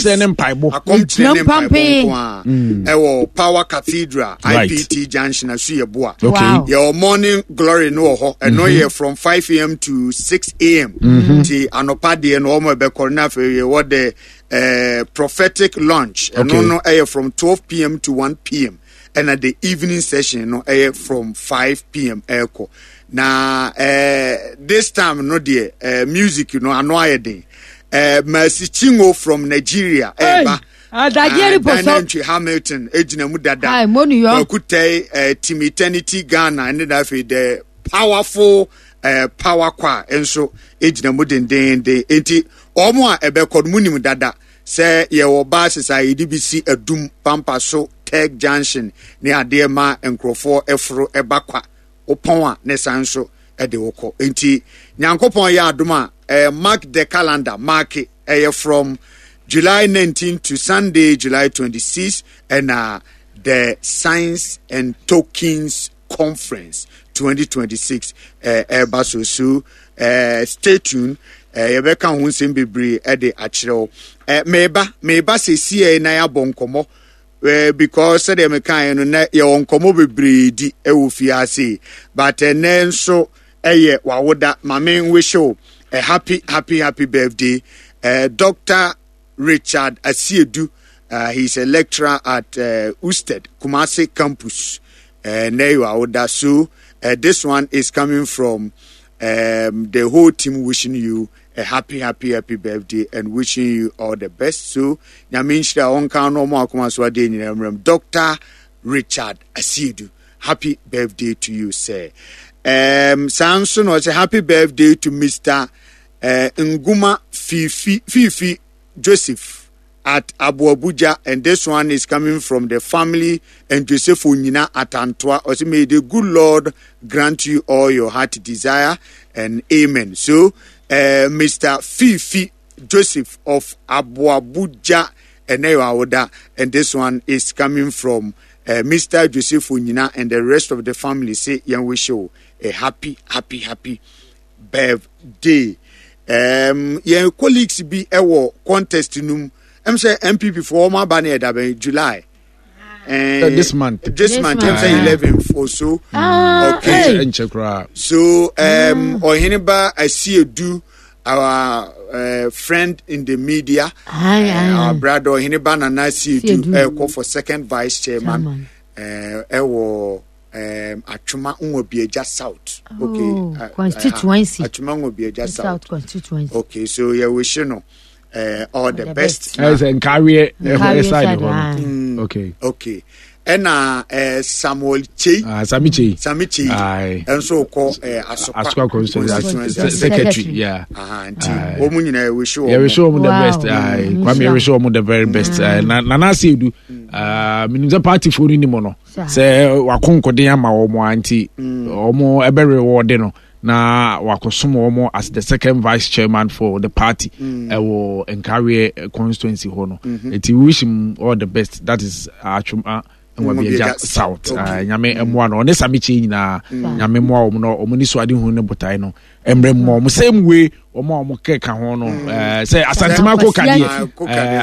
Akɔmkyerɛ ne mpaebɔ. Akɔmkyerɛ ne mpaebɔ nko a. Ɛwɔ Power Cathedral, IPT Junction, Asuyɛboa. Yɛwɔ Morning Glory no wɔ hɔ. Ɛno yɛ from 5 am to 6 am. Nti anɔpa deɛ no wɔn ɛbɛkɔ na afei yɛwɔ the prophetic lunch. Ɛno no ɛyɛ from 12 pm to 1 pm. Ɛna the evening session no ɛyɛ from 5 pm ɛkɔ. Na this time no deɛ music no ano ayɛ den. Mercy Chinwo from Nigeria ɛba. Daniel Hamilton egyina mu dada. Kwaku Tɛi Team Eternity Ghana ɛne na afei the powerful power choir nso egyina mu dendenden. Enti wɔn a ɛbɛkɔ no mu nim dada sɛ yɛwɔ buses a yɛde bi si Adum, Pampa so, Tech Junction ne adeɛ ma nkurɔfoɔ ɛforo ɛba kwa. Wopɔn a ne san nso ɛde wokɔ. Enti Nyankopɔn yɛ adom a mark the calendar, mark ɛyɛ from July 19 to Sunday July 26 ɛna the Science and Tokens Conference 2026 ɛba so. So stay tuned. Yɛbɛka ho nsɛm bebree ɛde akyerɛ wo. Meba sɛsiɛ na yɛabɔ nkɔmmɔ. Because sɛdeɛ mekaeɛ no na yɛwɔ nkɔmmɔ bebree di ɛwɔ fiase, but ɛnɛ nso ɛyɛ wawoda. Ma me wish wo a happy, happy, happy birthday, Dr. Richard Asiedu. He's a lecturer at Usted Kumasi campus. Ɛnɛ yɛ wawoda, so this one is coming from the whole team wishing you a happy, happy, happy birthday and wishing you all the best. So Nyame nhyira ɔnka no ɔmo akoma so adeɛ nyinaa mmerɛm. Dr. Richard Asiedu, happy birthday to you, sir. Saa nso na ɔsɛ happy birthday to Mr. Nguma Fifi, Fifi Joseph at Abuabuja, and this one is coming from the family and Joseph Onyina at Antoa. Ɔsɛ may the good Lord grant you all your heart desire and amen. So Mr. Fifi Joseph of Abuabuja Eneyo, and this one is coming from Mr. Joseph Onyina and the rest of the family. Say yan wish you a happy, happy, happy birthday. Yɛn colleagues bi ɛwɔ contest num. Sɛ NPP for wɔn aba ne ɛda bɛn July. This month. This month, I'm 11th or so. Okay. So, Oheneba Asiedu, our friend in the media, our brother Oheneba Nana Asiedu, call for second vice chairman. Ewo Atwima Nwabiagya South. Okay. Constituency. Atwima Nwabiagya South. South constituency. Okay, so yeah, we should know. All the best. Nkawie side. Okay. Okay. Ɛna Samuel Chei. Sami Chei. Sami Chei. Ɛnso kɔ Asokwa constituency secretary. Yeah. Nti wɔn nyinaa yɛ wish wɔn. Yɛ wish wɔn the best. Kwame yɛ wish wɔn the very best. Nana Asiedu. Minim sɛ party fo no ni mu no. Sɛ wakonkoden ama wɔn a nti wɔn ɛbɛ reward no. Na wakosom wɔn as the second vice chairman for the party ɛwɔ Nkawie constituency hɔ no. Eti we wish him all the best. That is Atwima Nwabiagya South. Nyame mmoa no. Ɔne Sami Kyei nyinaa. Nyame mmoa wɔn na wɔn ni so ade hu ne botae no. Mmerɛ mu wɔn same way wɔn a wɔn keka ho no. Sɛ Asantemako kadeɛ.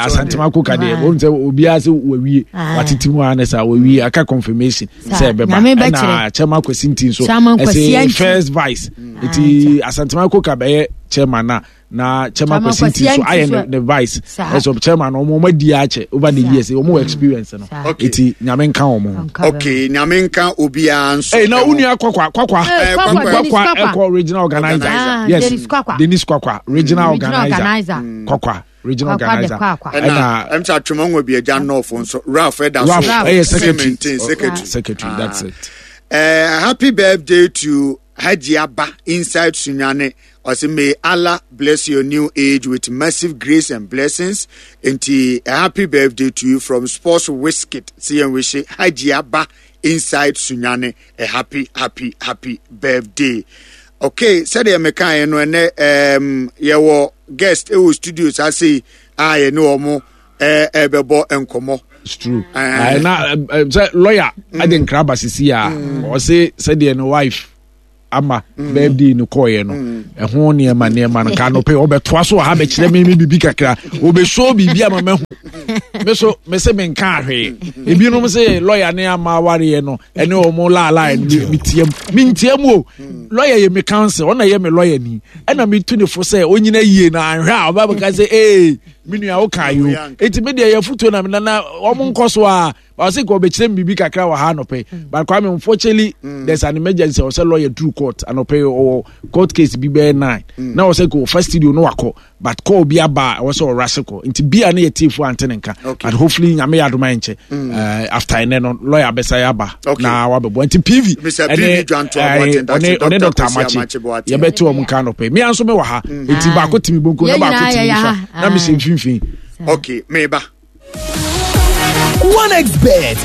Asantemako kadeɛ. Wɔn sɛ obiara sɛ wawie. Watete mu ara ne saa wawie aka confirmation. Sɛ ɛbɛba. Ɛna Chairman Kwesi Nti nso. Ɛsɛ first vice. Eti Asantemako ka bɛyɛ chairman na. Na Chairman Kwesi Nti nso ayɛ ne vice. Ɛsɛ chairman wɔn adi akyɛ over the years wɔn wɔ experience no. Eti Nyame nka wɔn ho. Okay, Nyame nka obiara nso. Ee na onua Kwakwa Kwakwa Kwakwa ɛkɔ regional organizer. Yes, Dennis Kwakwa regional organizer. Kwakwa regional organizer. Ɛna ɛmsa Atwima Nwabiagya North nso Ralph ɛda so. Ralph ɛyɛ secretary. Secretary, that's it. Happy birthday to Haji Abba inside Sunyani. Ɔsɛ may Allah bless your new age with massive grace and blessings. Nti a happy birthday to you from Sports Wizkid. See and wish Haji Abba inside Sunyani a happy, happy, happy birthday. Okay, sɛdeɛ mekaeɛ no ɛnɛ yɛwɔ guest ɛwɔ studio saa sei a yɛne wɔn ɛbɛbɔ nkɔmmɔ. It's true. Na sɛ lawyer ɛde nkra ba sisi a ɔse sɛdeɛ ne wife. Ama birthday no kɔɔyɛ no, ɛho nneɛma nneɛma no ka anɔpɛ ɔbɛtoa so wɔ ha bɛkyerɛ me me biribi kakra, ɔbɛsoo biribi ama mahu. Me so me se menka hwee. Ebinom sɛ lɔya ne Ama awareɛ no ɛne ɔmo laalae no, metia mu, mentia mu o. Lɔya yɛ me counsel, ɔna yɛ me lɔya ni, ɛna metu ne fo sɛ ɔnyina yie na anhwɛ a ɔba bɛka sɛ ee, me nua woka yo. Enti me deɛ yɛfotuo na menana ɔmo nkɔ so a ɔsɛ nka ɔbɛkyerɛ me biribi kakra wɔ ha anɔpɛ. But Kwame, unfortunately there's an emergency. Ɔsɛ lawyer through court anɔpɛ, ɔwɔ court case bi bɛyɛ 9 na ɔsɛ nka ɔfa studio no wakɔ, but call bi aba a ɛwɔ sɛ ɔrase kɔ, nti bia ne yɛ tiefo ante ne nka. But hopefully Nyame yɛ adoma nkyɛ after ɛnɛ no lawyer bɛsa yɛ aba na wabɛbɔ. Nti PV ɛne ɔne Dr. Amakye yɛbɛte wɔn nka anɔpɛ. Mmea nso mewɔ ha, nti baako timi bonko na baako timi nifa na mehyɛ mfimfini. Okay, meba. 1xBet.